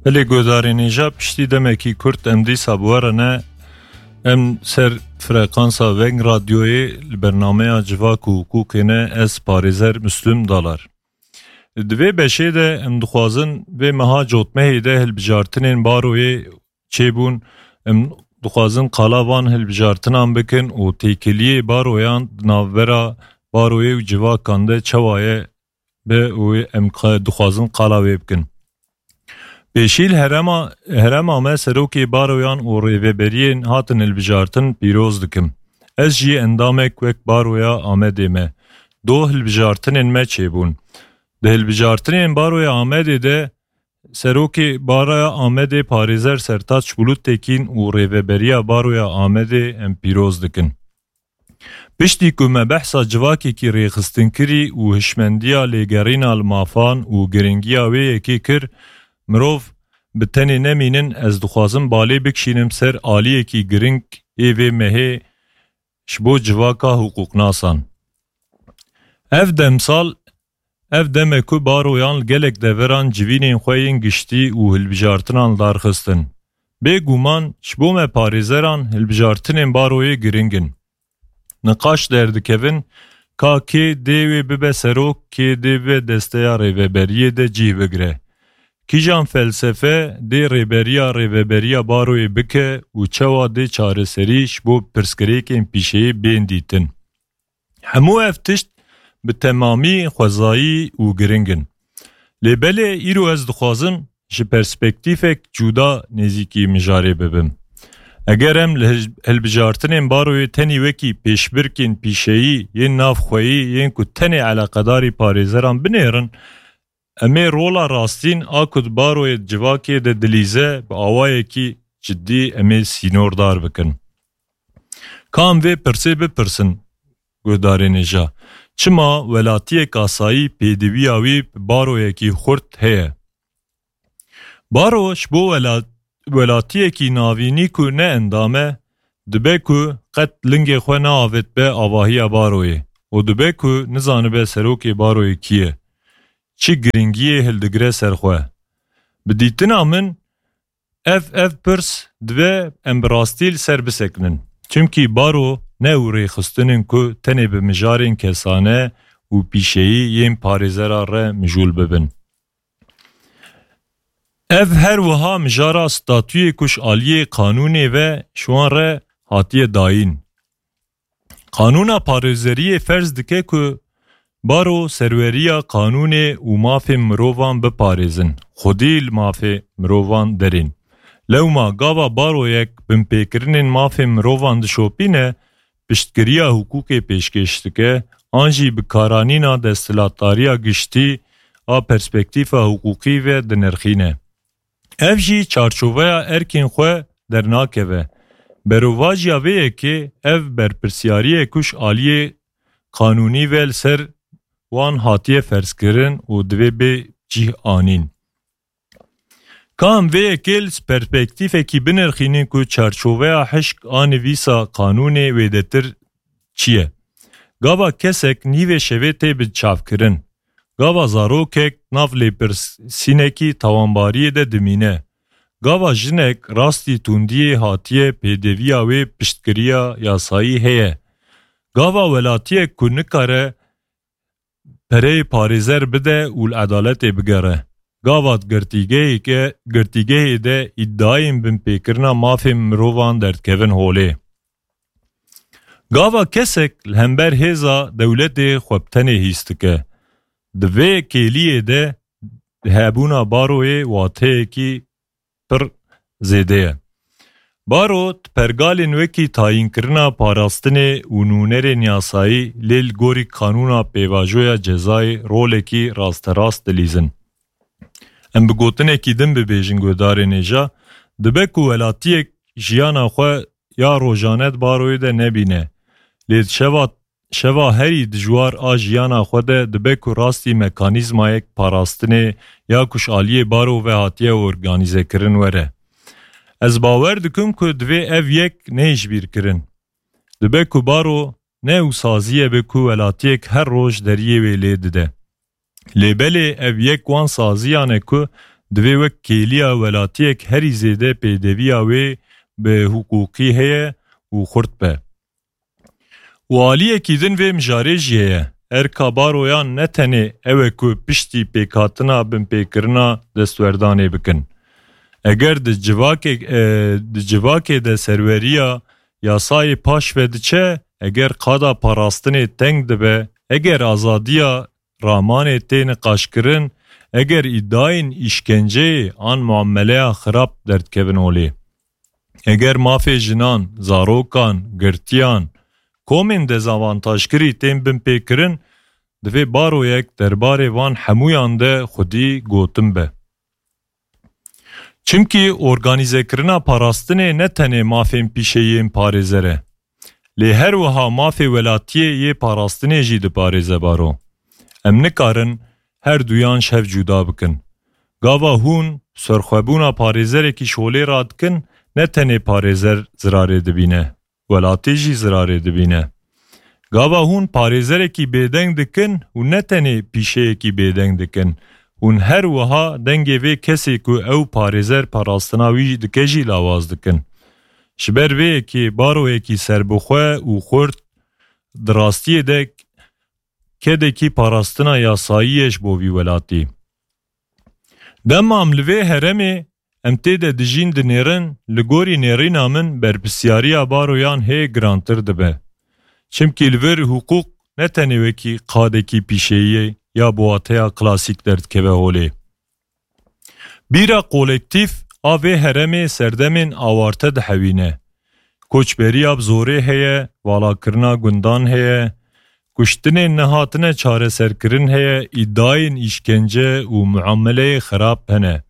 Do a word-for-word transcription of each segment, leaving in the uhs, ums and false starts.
Belê guhdarên hêja, piştî demekî kurt em dîsa bi we re ne. Em ser frekansa Veng Radyoyê li bernameya Civak û Hiqûqê ne, ez parêzer Muslim Dalar. Di vê beşê de em dixwazin vê meha cotmehê de hilbijartinên Baroyê çêbûn, em dixwazin qala van hilbijartinan bikin û têkiliyê Baroyan di navbera Baroyê û civakan de çawa ye, be û em qa-, dixwazin qala wê bikin. Pêşî li herema, herema me serokê Baroyan û rêveberiyên hatin hilbijartin pîroz dikim. Ez jî endamek wek Baroya Amedê me. Do hilbijartinên me çêbûn. Di hilbijartinên Baroya Amedê de serokê Baroya Amedê parêzer Sertaç Bulut Tekîn û rêveberiya Baroya Amedê em pîroz dikin. Piştî ku me behsa civakekî rêxistinkirî û hişmendiya lêgerîna li mafan û giringiya wê yekê kir, mirov bi tenê nemînin, ez dixwazim balê bikişînim ser aliyekî giring ê vê mehê ji bo civaka hiqûqnasan. Ev demsal, ev dem e ku Baroyan li gelek deveran civînên xwe yên giştî û hilbijartinan li dar xistin. Bêguman ji bo me parêzeran hilbijartinên Baroyê giring in. Niqaş derdikevin, ka kê dê wê bibe serok, kê dê bibe desteya rêveberiyê de cih bigire. Kîjan felsefe dê rêberiya rêveberiya Baroyê bike û çawa dê çareserî ji bo pirsgirêkên pîşeyê bên dîtin. Hemû ev tişt bi temamî xwezayî û giring in. Lê belê îro ez dixwazim ji perspektîfek cuda nêzîkî mijarê bibim. Eger em li hilj-, hilbijartinên Baroyê tenî wekî pêşbirkên pîşeyî yên navxweyî yên ku tenê eleqedarî parêzeran binêrin, em ê rola rastîn a ku di Baroyê civakê de dilîze bi awayekî cidî em ê sînordar bikin. Ka em vê pirsê bipirsin, guhdarên hêja, çima welatiyek asayî pêdiviya wî bi Baroyekî xurt heye? Baro ji bo wela-, welatiyekî navînî ku ne endam e, dibe ku qet lingê xwe neavêtbe avahiya Baroyê û dibe ku nizanibe serokê Baroyê kî ye, çi giringiyê hildigire ser xwe. Bi dîtina min, ev, ev pirs dibe em bi rastî li ser bisekinin. Çimkî Baro ne ew rêxistin in ku tenê bi mijarên kesane û pîşeyî yên parêzera re mijûl bibin. Ev her wiha mijara statuyê ku ji aliyê qanûnê ve ji wan re hatiye dayîn. Qanûna parêzeriyê ferz dike ku Baro serweriya qanûnê û mafên mirovan biparêzin, xwedî li mafê mirovan derên. Lewma gava baroyek binpêkirinên mafên mirovan dişopîne, piştgiriya hiqûqê pêşkêş dike, an jî bi karanîna desthilatdariya giştî a perspektîfa hiqûqî ve dinirxîne. Ev jî çarçoveya erkên xwe dernakeve. Berovajiya vê yekê ev berpirsiyarî ye ku ji aliyê qanûnî ve li ser wan hatiye ferzkirin û divê bê cih anîn. Ka em vê yekê li perspektîfekî binirxînin ku çarçoveya hişk a nivîsa qanûnê wêdetir çi ye? Gava kesek nîvê şevê tê bi çavkirin. Gava zarokek nav lêpirsînekî tawanbariyê de dimîne. Gava jinek rastî tundiyê hatiye pêdeviya wê piştgiriya yasayî heye. Gava welatiyek ku nikare pereyê parêzer bide û li edaletê bigere. Gava di girtîgehê ke, girtîgehê de îdiayên binpêkirina mafên mirovan derdikevin holê. Gava kesek li hember hêza dewletê xwe bi tenê hîs dike. Di vê kêliyê de hebûna baroyê wateyekî pir zêde ye. Baro di pergalên wekî tayînkirina parastinê û nûnerên yasayî lê li gorî qanûna pêvajoya cezayê rolekî rasterast dilîzin. Em bi gotinekî din bibêjin guhdarên hêja, dibe ku welatiyek jiyana xwe ya rojane di baroyê de nebîne. Lê di şeva, şeva herî dijwar a jiyana xwe de dibe ku rastî mekanîzmayek parastinê ya ku ji aliyê baro ve hatiye organîzekirin were. Ez bawer dikim ku divê ev yek neyê ji bîr kirin. Dibe ku baro ne ew saziye be ku welatiyek her roj deriyê wê lê dide. Lê belê ev yek wan saziyan e ku divê wek kêliya welatiyek herî zêde pêdeviya wê bi hiqûqî heye û xurt be. Û aliyekî din vê mijarê jî heye. Erka baroyan ne tenê ew e ku piştî pêkhatina binpêkirina destwerdanê bikin. Eger di civakê, e, di civakê de serweriya yasayê paş ve diçe, eger qada parastinê teng dibe, eger azadiya ramanê tê niqaşkirin, eger îdayên îşkenceyê an muameleya xirab derdikevin holê. Eger mafê jinan, zarokan, girtiyan, komên dezavantajkirî tên binpêkirin, divê baroyek derbarê van hemûyan de xwedî gotin be. Çimkî organîzekirina parastinê ne tenê mafên pîşeyên parêzer e, lê her wiha mafê welatiyê yê parastinê jî diparêze baro. Em nikarin her duyan ji hev cuda bikin. Gava hûn serxwebûna parêzerekî şolê radikin, ne tenê parêzer zirarê dibîne, welatê jî zirarê dibîne. Gava hûn parêzerekî bêdeng dikin û ne tenê pîşeyekî bêdeng dikin, hûn her wiha dengê vê kesê ku ew parêzer parastina wî dike jî lawaz dikin. Ji ber vê yekê baroyekî serbixwe û xurt di rastiyê de kedekî parastina yasayî ye ji bo vî welatî. Dema em li vê heremê em tê de dijîn dinêrin, li gorî nêrîna min berpirsiyariya baroyan hê girantir dibe. Çimkî li vir hiqûq ne tenê wekî qadekî pîşeyî ya bi wateya klasîk derdikeve holê. Bîra kolektîf a vê heremê serdemên awarte dihewîne. Koçberiya bi zorê heye, valakirina gundan heye, kuştinên nehatine çareserkirin heye, îdayên îşkence û muameleyê xirab hene.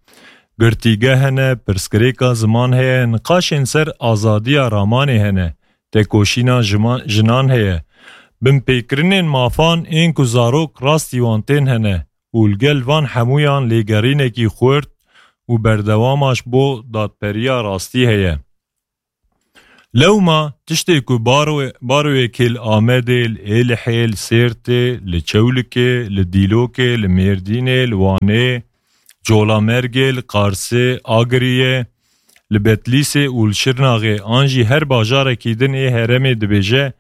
Girtîgeh hene, pirsgirêka ziman heye, niqaşên ser azadiya ramanê hene, tekoşîna jima-, jinan heye. Binpêkirinên mafan ên ku zarok rastî wan tên hene û li gel van hemûyan lêgerînekî xurt û berdewama ji bo dadperiya rastî heye. Lewma tiştê ku baro-, baroyekê li Amedê, li Êlihê, li Sêrtê, li Çewlikê, li Dîlokê, li Mêrdînê, li Wanê, Colamergê, li Qarsê, Agiriyê, li Betlîsê û li Şirnaxê an jî her bajarekî din ê heremê dibêje,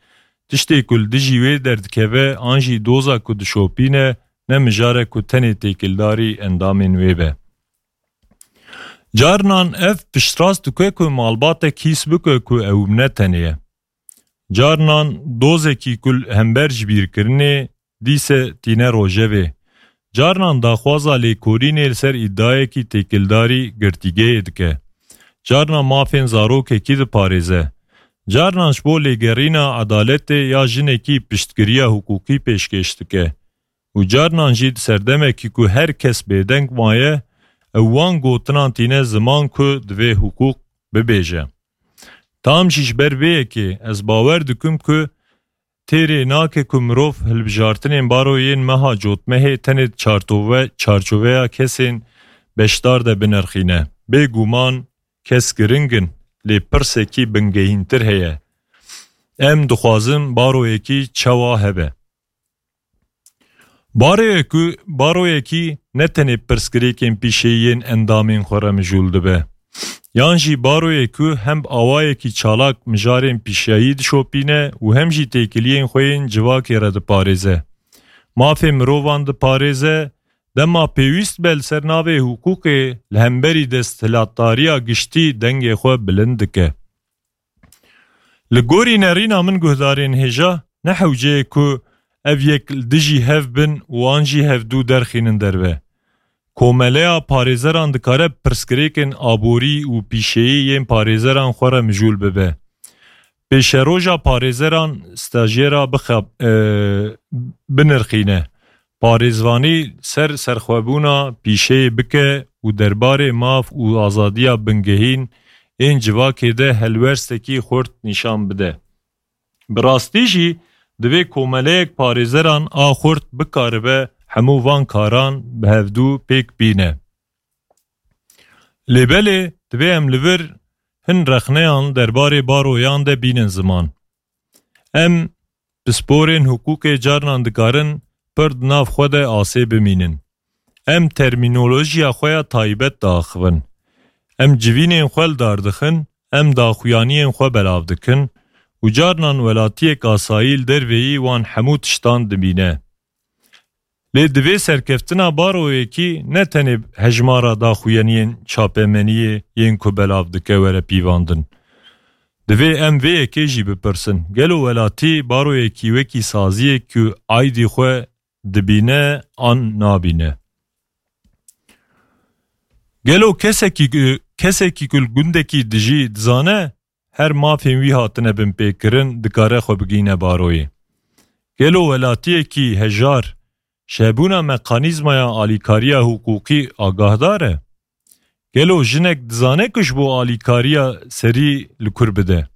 tiştê ku li dijî wê derdikeve an jî doza ku dişopîne, ne mijare ku tenê têkildarî endamên wê be. Carnan ev piştrast dike ku malbatek hîs bike ku ew ne tenê ye. Carnan dozekî ku li hember ji bîrkirinê dîse tîne rojevê. Carnan daxwaza lêkolînê li ser îdayekî têkildarî girtîgehê dike. Carnan mafên zarokekî diparêze. Carnan ji bo lêgerîna edaletê ya jinekî piştgiriya hiqûqî pêşkêş dike. Û carnan jî di serdemekî ku her kes bêdeng maye, ew wan gotinan tîne ziman ku divê hiqûq bibêje. Tam jî ji ber vê yekê ez bawer dikim ku têrê nake ku mirov hilbijartinên baroyên meha cotmehê tenê di çartove-, çarçoveya kesên beşdar de binirxîne. Bêguman kes giring in, lê pirsekî bingehîntir heye. Em dixwazin baroyekî çawa hebe? Baroyekî, baroyekî ne tenê pirsgirêkên pîşeyî yên endamên xwe re mijûl dibe. Yan jî baroyê ku hem bi awayekî çalak mijarên pîşeyî dişopîne û hem jî têkiliyên xwe yên civakê re diparêze. Mafê mirovan diparêze, dema pêwîst be li ser navê hiqûqê li hemberî desthilatdariya giştî dengê xwe bilind dike. Li gorî nerîna min guhdarên hêja, ne hewce ye ku ev yek li dijî hev bin û an jî hevdû derxînin derve. Komeleya parêzeran dikare pirsgirêkên aborî û pîşeyî yên parêzeran xwe re mijûl bibe. Pêşeroja parêzeran stajyera bixab-, e, binirxîne. Parêzvanî ser serxwebûna pîşeyê bike û derbarê maf û azadiya bingehîn ên civakê de helwerstekî xurt nîşan bide. Bi rastî jî divê komeleyek parêzeran a xurt bikaribe hemû van karan bi hevdû pêk bîne. Lê belê divê em li vir hin rexneyan derbarê baroyan de bînin ziman. Em pisporên hiqûqê carnan dikarin pir di nav xwe de asê bimînin. Em termînolojiya xwe ya taybet diaxivin. Em civînên xwe li dar dixin, em daxuyaniyên xwe belav dikin û carnan welatiyek asayî li derveyî wan hemû tiştan dibîne. Lê divê serkeftina baroyekî ne tenê hejmara daxuyaniyên çapemeniyê yên ku belav dike were pîvandin. Divê em vê yekê jî bipirsin, gelo welatî baroyekî wekî saziyek ku aydî xwe dibîne an nabîne? Gelo kesekî, kesekî ku li gundekî dijî dizane her mafên wî hatine binpêkirin, dikare xwe bigihîne baroyê? Gelo welatiyekî hejar ji hebûna mekanîzmaya alîkariya hiqûqî agahdar e? Gelo jinek dizane ku ji bo alîkariya serî li kur bide?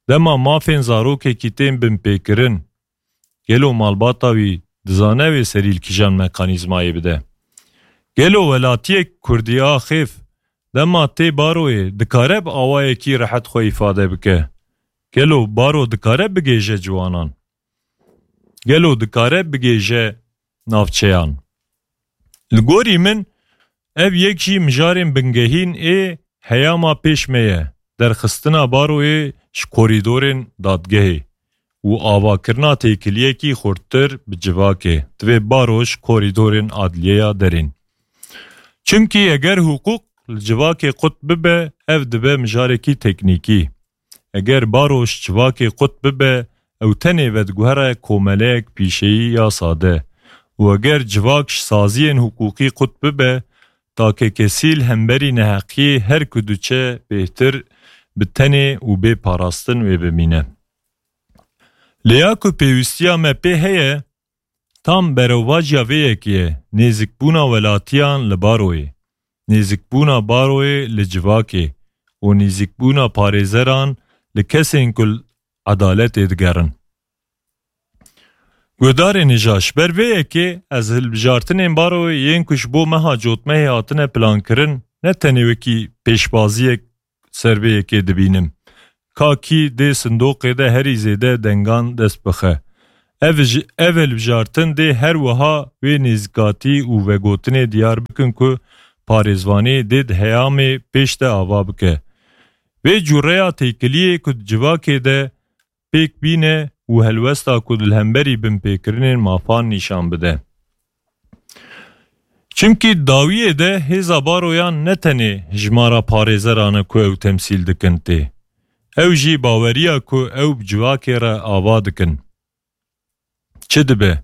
Dema mafên zarokekî tên binpêkirin, gelo malbata wî dizane wê serî li kîjan mekanîzmayê bide? Gelo welatiyek kurdîaxêv dema tê baroyê dikare bi awayekî rehet xwe îfade bike? Gelo baro dikare bigêje ciwanan? Gelo dikare bigêje navçeyan? Li gorî min, ev yek jî mijarên bingehîn ê heyama pêş me ye, derxistina baroyê ji korîdorên dadgehê û avakirina têkiliyekî xurttir bi civakê, divê baro ji korîdorên adliyeya derên. Çimkî eger hiqûq li civakê qut bibe, ev dibe mijarekî teknîkî. Eger baro ji civakê qut bibe, ew tenê vediguhere komeleyek pîşeyî ya sade. Û eger civak ji saziyên hiqûqî qut bibe, takekesî li hemberî neheqiyê her ku diçe bêhtir bi tenê û bê parastin wê bimîne. Lê ya ku pêwîstiya me pê heye, tam berevvaciya vê yekê ye, nêzîkbûna welatiyan li baroyê, nêzîkbûna baroyê li civakê û nêzîkbûna parêzeran li kesên ku li edaletê digerin. Guhdarên hêja, ji ber vê yekê ez hilbijartinên baroyê yên ku ji bo meha cotmehê hatine plankirin, ne tenê wekî pêşbaziyek ser vê yekê dibînim. Ka kî dê sindoqê de herî zêde dengan dest bixe. Ev ji, ev hilbijartin dê her wiha wê nêzîkatî û vegotinê diyar bikin ku parêzvanî dê di heyamê pêş de ava bike. Vê cûreya têkiliyê ku di civakê de pêk bîne û helwesta ku di li hemberî binpêkirinên mafan nîşan bide. Çimkî dawiyê de hêza baroyan ne tenê hijmara parêzeran e ku ew temsîl dikin tê. Ew jî baweriya ku ew bi civakê re ava dikin. Çi dibe?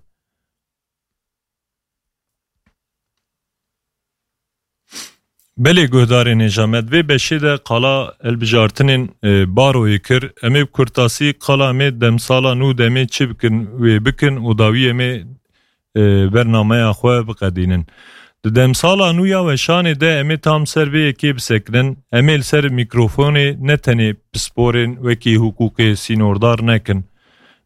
Belê guhdarên hêja, me di vê beşê de qala hilbijartinên, e, baroyê kir. Em ê bi kurtasî qala em ê demsala nû de em ê çi bikin, wê bikin û dawî em ê, e, bernameya xwe biqedînin. Di demsala nû ya weşanê de em ê tam ser vê yekê bisekinin. Em ê li ser mîkrofonê ne tenê pisporên wekî hiqûqê sînordar nekin.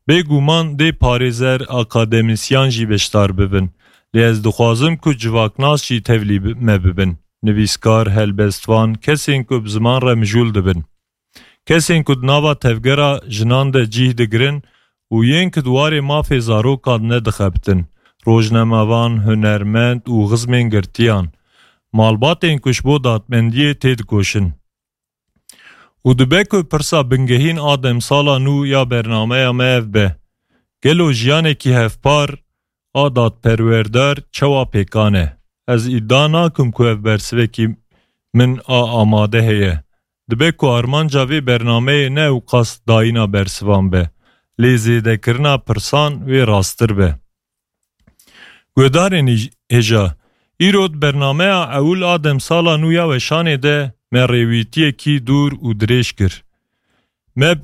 Bêguman dê parêzer, akademîsyan jî beşdar bibin. Lê ez dixwazim ku civaknas jî tevlî bi-, me bibin. Nivîskar, helbestvan, kesên ku bi ziman re mijûl dibin. Kesên ku di nava tevgera jinan de cîh digirin û yên ku di warê mafê zarokan nedixebitin. Rojnamevan, hunermend û xizmên girtiyan. Malbatên ku ji bo dadmendiyê têdikoşin. Û dibe ku pirsa bingehîn a demsala nû ya bernameya me ev be: gelo jiyanekî hevpar a dadperwerdar çawa pêkan e? Ez îdia nakim ku ev bersivekî min a amade heye. Dibe ku armanca vê bernameyê ne ewqas dayîna bersivan be, lê zêdekirina pirsan wê rasttir be. Guhdarên hêj-, hêja, îro di bernameya ewil a demsala nû ya weşanê de me rêwîtiyekî dûr û dirêj kir. Me bi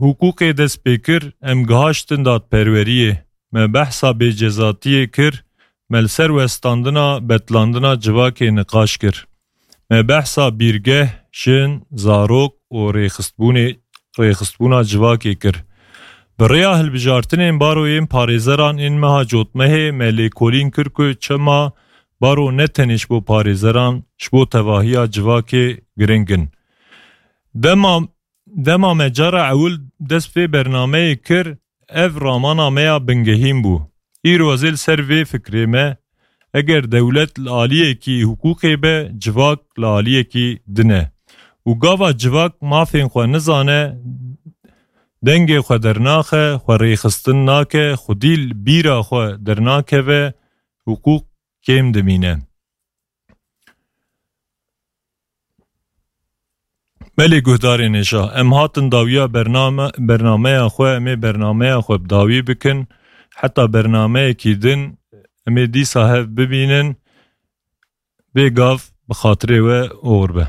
hiqûqê dest pê kir, em gihaştin dadperweriyê. Me behsa bêcezatiyê kir, me li ser westandina betlandina civakê niqaş kir. Me behsa bîrgeh, jin, zarok û rêxistbûnê, rêxistbûna civakê kir. Bi rêya hilbijartinên baroyên parêzeran ên meha cotmehê me lêkolîn kir ku çima baro ne tenê ji bo parêzeran, ji bo tevahiya civakê giring in. Dema, dema me cara ewil dest vê bernameyê kir, ev ramana me ya bingehîn bû. Îro ez ê li ser vê fikrê me Eger dewlet li aliyekî hiqûqê be, civak li aliyekî din e. Û gava civak mafên xwe nizane, dengê xwe dernaxe, xwe rêxistin nake, xwedî li bîra xwe dernakeve, hiqûq kêm dimîne. Belê guhdarên hêja, em hatin dawiya bername, bernameya xwe, em ê bernameya xwe bi dawî bikin. Heta bernameyekî din em ê dîsa hev bibînin. Bê gav bi xatirê we oxir be.